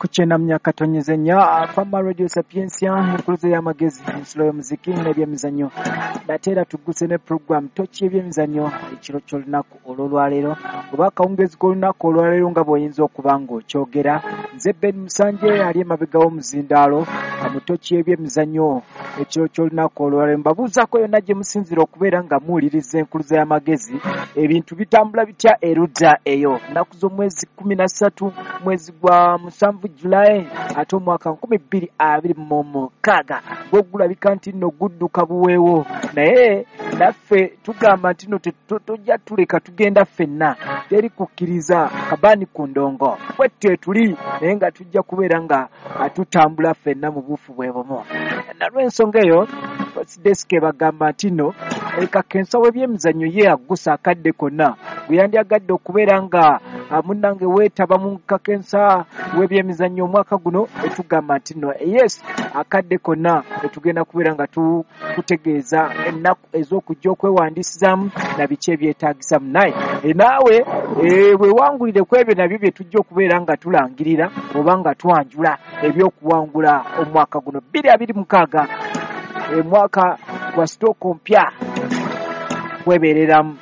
Ku 94.4 Fama Radio Sapientia, enkuluze y'amagezi, ensulo y'omuziki n'ebyemizannyo. Nate era tugguse ne program Toki y'ebyemizannyo ekiro ky'olunaku olw'olwaleero oba akawungeezi k'olunaku olwaleero nga bw'oyinza okuba ng'okyogera. Nze Ben Musanje ali emabega w'omuzindaalo mu Toki y'ebyemizannyo ekiro ky'olunaku olwaleero. Mbabuuzaako yonna gye musinziira okubeera nga muwuliriza enkuluze y'amagezi, ebintu bitambula bitya erudda eyo. Nnaku z'omwezi 13 mwezi gwa 7 Julayi ate omwaka 2026 gwo gulabika nti nno gudduka buweewo, naye naffe tugamba nti nno tojja tuleka tugenda ffenna, teri kukkiriza kabaani ku ndongo bwetyo tuli, naye nga tujja kubeera nga tutambula ffenna mu buufu bwe bumu. Nalw'ensonga eyo desk bagamba nti nno kakensa w'ebyemizannyo ye aggusa akadde konna gwe yandyagadde okubeera nga munnange weetaba mu kakensa w'ebyemizannyo omwaka guno, etugamba nti nno yes, akadde konna etugenda kubeera nga tukutegeeza ennaku ez'okujja okwewandiisizaamu na biki ebyetaagisa. Naye naawe weewangulire ku ebyo nabyo bye tujja okubeera nga tulangirira oba nga twanjula ebyokuwangula omwaka guno 2026, omwaka gwa sitooko mpya kwebeereramu.